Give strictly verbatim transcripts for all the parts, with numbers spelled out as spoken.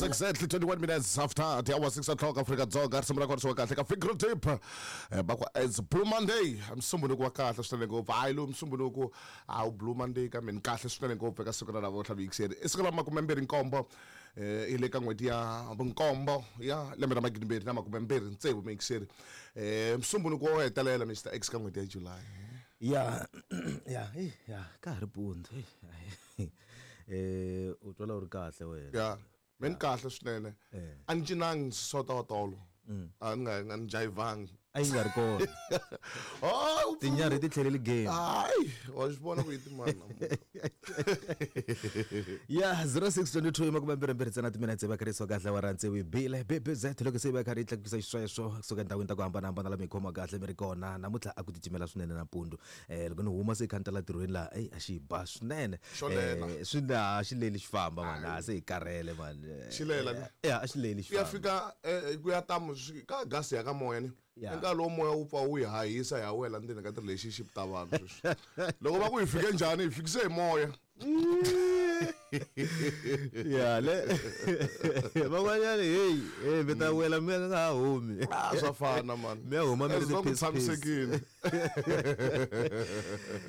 Exactly twenty-one minutes after the hour six o'clock Afrika Dzonga, risimu ra kona swi wa kahle ka Fingertip eh, va ku it's Blue Monday. Msumbuluko wa kahle swinene ngopfu. Hayi, lowu msumbuluko a wu Blue Monday kambe ni kahle swinene ngopfu eka siku ra namuntlha miyingiseri. I siku ra makume mbirhi nkombo eh, i le ka n'hweti ya vunkombo ya lembe ra magidi mbirhi na makume mbirhi tsevu miyingiseri. eh, msumbuluko wo hetelela Mister X ka n'hweti ya July. Ya ya eh, ya ka ha ri mpundzu eh u twala u ri kahle wena? Ya, me ni kahle swinene. Eh. A ni cinangi sota wa tolo, a ni nga a ni jayivangi. A yi nga ri kona. Oh, tinyarhi ti tlheleli game. Hayi, wa swi vona ku yi timani namuntlha. Ya, zero six twenty-two, makume mbirhi mbirhi ntsena timinetse va kharisiwa kahle wa rantsewu hi bile B B Z loko se va karhi yi tlakukisa xisweswo kusuka endhawini ta ku hambanahambana la mi hi khoma kahle mi ri kona. Namuntlha a ku titimela swinene nampundzu. um loko ni huma se kha ni ta la tirhweni laha, eyi, a xi ba swinene. Xo lela. Eh, swi na xi leli xi famba mani, a se hi karhele mani. Xi lela ni? Ya, a xi leli xi Ku ya famba. Fika eh, ku ya tamu swi- ka gasi ya ka moya ni Ya. nkarhi lowu moya wu pfa wu hi hahisa hi wela ndzeni ka ti-relationship ta vanhu sweswi. Loko va ku hi fike njhani, hi fikise hi moya. Ya le van'wanyani, heyi hey, mi ta wela mi nga ha humi. Ah, swa fana mani. Mi ya huma mi ri As long ku ti-piece-piece. tshamisekile.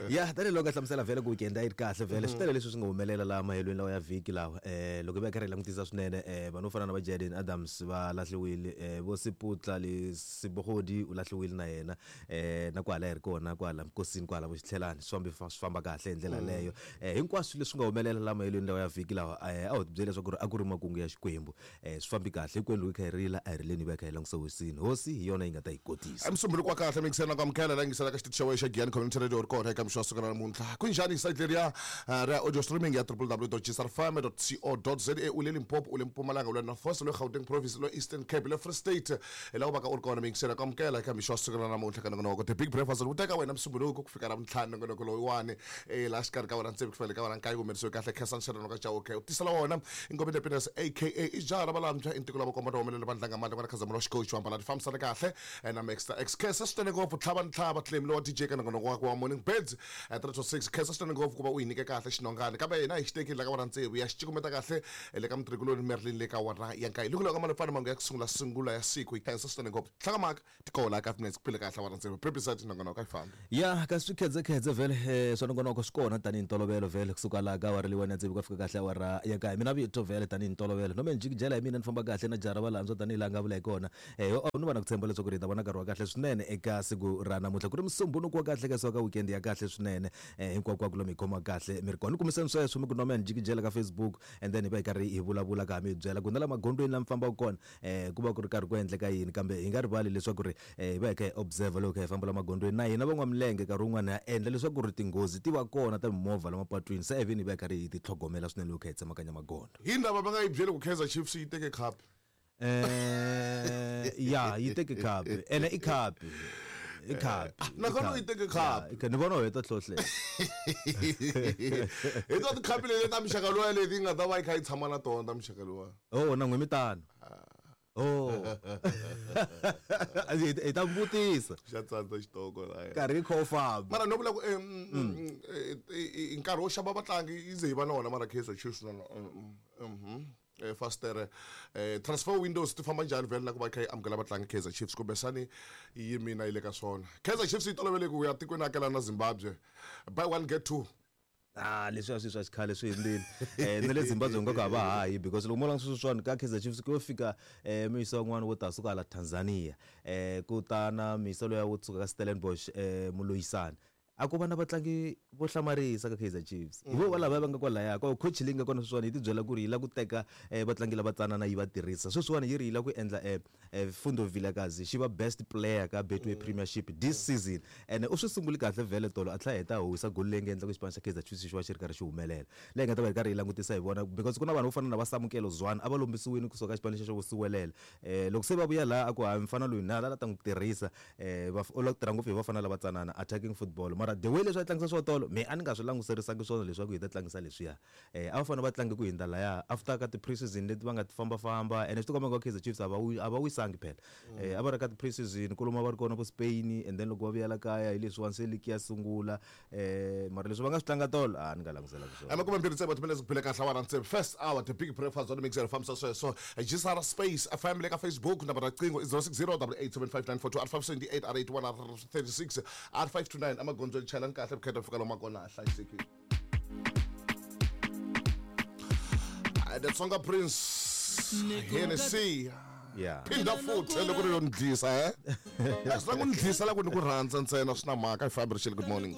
Ya, tanihiloko a hlamusela vhele ku weekend a yi ri kahle vhele, swi tele leswi swi nga humelela laha mahelweni lawa ya vhiki lawa. um loko hi va karhi hi langutisa swinene, um vanhu vo fana na va Jaden Adams va lahliwile, um vo Siputla le Sibogodi u lahliwile na yena, um na kwala hi ri kona kwala mikosini kwala vo xitlhelani swi fambi swi famba kahle hi ndlela yaleyo. um hinkwaswo leswi nga humelela laha mahelweni lawa ya vhiki lawa, um a ho ti byela leswaku ri a ku ri makungu ya Xikwembu. um swi fambi kahle hinkwenu. Loko hi kha hi rila, a hi rileni, hi va hi kha hi langutisa hosini. Hosi hi yona yi nga ta hi kotisa. Msumbuluko wa kahle mingisela na ku amukela la yingisela ka xitichi xa wena xa Giyani Community Radio ri kona eka mixo wa siku ra namuntlha. Ku njhani site leriya eh, ra audio streaming ya w w w dot g s r f m dot co dot za? U le Limpopo, u le Mpumalanga, u le North West, u le Gauteng Province, u le Eastern Cape, le Free State, hi laha u vaka u ri kona mingisela ku amukela eka mixo wa siku ra namuntlha ka nongonoko The Big Breakfast wu teka wena msumbuluko ku fika ra mintlhanu. Nongonoko loyiwani eh, laha xikarhi ka wena ntsevu ku fikela ka wena nkaye humerisiwe kahle Khansani Sharon ka Chauke u tisela wona Ingombe Independence A K A i jaha ra valantshwa i ntiko lava komba humelela vandlanga mali n'wana Khazamulo wa xikochi wa mbala ti fambisana kahle eh, na Maxter X. Khensa swinene ngopfu tlhava ni tlhava claim lowa D J ka nongonoko wa wa Morning Birds eh, three to six. Khensa swinene ngopfu ku va u hi nyike kahle xinongani kambe hina hi xi tekile la ka wena tsevu ya xi cukumeta kahle eh, le ka mutirhikuloni Merlin le ka wona ya nkaye loko loko malofana mangu ya ku sungula sungula ya siku. Hi khensa swinene ngopfu tlhakamaka tikola ka minutes ku phile kahle wena tsevu prepisat nongonoko a yi fambi. Ya, kasi swi khedzekhedze vhele eh, swa nongonoko swi kona tanihi ntolovelo vhele kusuka laha ka awara leyiwani ya tsevu ka fika kahle awara ya kaye. Mina vito vhele tanihi ntolovelo nome njikijela hi mina ni famba kahle na jara valandzwa tanihi laha nga vula hi kona. um ni va na ku tshemba leswaku ri hi ta vona nkarhi wa kahle swinene eka siku ra namuntlha, ku ri musumbunuku wa kahle kasi wa ka weekend ya kahle swinene. um hinkwako lomu hi khoma kahle mi ri kona ni kumiseni sweswo mi ku nome njikijela ka Facebook and then hi va hi karhi hi vulavula ka ha mi hi byela ku na la magondzweni lama fambaka kona um ku va ku ri karhi ku endleka yini. Kambe hi nga rivali leswaku ri um hi va hi kha hi observe loko hi kha hi famba la magondzweni na hina van'wamilenge nkarhi wun'wani ha endla leswaku ri tinghozi ti va kona ta mimovha la mapatwini, se eveni hi va hi karhi hi ti tlhogomela swinene loko kha hi tsemakanya magondzo. Hi ndava va nga yi byeli ku Kaizer Chiefs yi teke cup? eh ya, yi teke cup ene i cup i cup. Nakona yi teke cup. Ni vona u heta hlohle. Hi ta tikhapi leti ta muxaka luwa leti yi nga ta va yi kha yi tshama na tona ta muxaka luwa. Oh, na n'we mi tano. Oh, hi hi ta vutisa. Xa tsandza xitoko laya. Nkarhi yi kha wu famba. Mara no vula ku eh, mm, mm, eh, eh, nkarhi wo xava vatlangi yi ze yi va na wona, mara Kaizer Chiefs na mhm eh, faster eh, transfer windows ti famba njhani vhele na ku va kha yi amukela vatlangi Kaizer Chiefs kumbexani yi mina yi le ka swona? Kaizer Chiefs yi tolovele ku ya tikweni akela na Zimbabwe, buy one get two. Ah, leswiya swi swa xikhale swi hundzile. um na le Zimbabwe nga ka va hayi because loko mo langutisa sweswiwani ka Kaizer Chiefs ku yo fika um muyisa wun'wana wo ta suka hala Tanzania, um ku ta na muyisa luya wo suka ka Stellenbosch, um Muloyisana. A ku va na vatlangi vo hlamarisa ka Kaizer Chiefs hi vo valava va nga kwalaya ko coach leyi nga kona sweswiwani yi ti byela ku ri yi lava ku teka um vatlangi lava tsanana yi va tirhisa. Sweswiwani yi ri yi lava ku endla um um Fundo Vilakazi xi va best player ka Betway Premiership this season ene u swi sunguli kahle vhele tolo a tlhela heta a howisa goli leyi nga endla ku xipano xa Kaizer Chiefs xi va xi ri karhi xi humelela leyi nga ta va yi karhi yi langutisa hi vona because ku na vanhu vo fana na va Samukelo Zwane a va lombisiwini kusuka ka xipano lexi xa Vusiwelela. um loko se va vuya laha a ku hayi mfana loyi na la ta n'wi tirhisa, um u lava ku tirha ngopfu hi vafana lava tsanana attacking football mara Mara the way leswi a tlangisa swo tolo me a ni nga swi languserisangi swona leswaku hi ta tlangisa leswiya. Eh a va fanele va tlange ku hindza laya after ka ti-preseason leti va nga ti fambafamba, ene swi tikomba nga Kaizer Chiefs a va wi a va wisangi phela. Eh a va ri ka ti-preseason kolomu va ri kona vo Spain, and then loko va vuyela kaya hi leswiwani se league ya sungula. Eh mara leswi va nga swi tlanga tolo a ni nga languselanga swona. Makume mbirhi tsevu timinetse ku phile kahle awara tsevu, first hour, The Big Breakfast on Mix fambisa sweswo G S R Space F M le ka Facebook. Nambara riqingho i zero six zero eight eight seven five nine four two, R five seven eight, R eight one, R thirty-six, R five two nine. Emagondzweni chayelani kahle, vukheta fika lomu kona hlayisekile. The Tsonga Prince, Hennessy. Yeah. Phinda futhi loko ri yo ni dlisa, eh a swi la ku ni dlisa la ku ni ku rhandza ntsena, swi na mhaka. Hi fambi rixile. Good morning.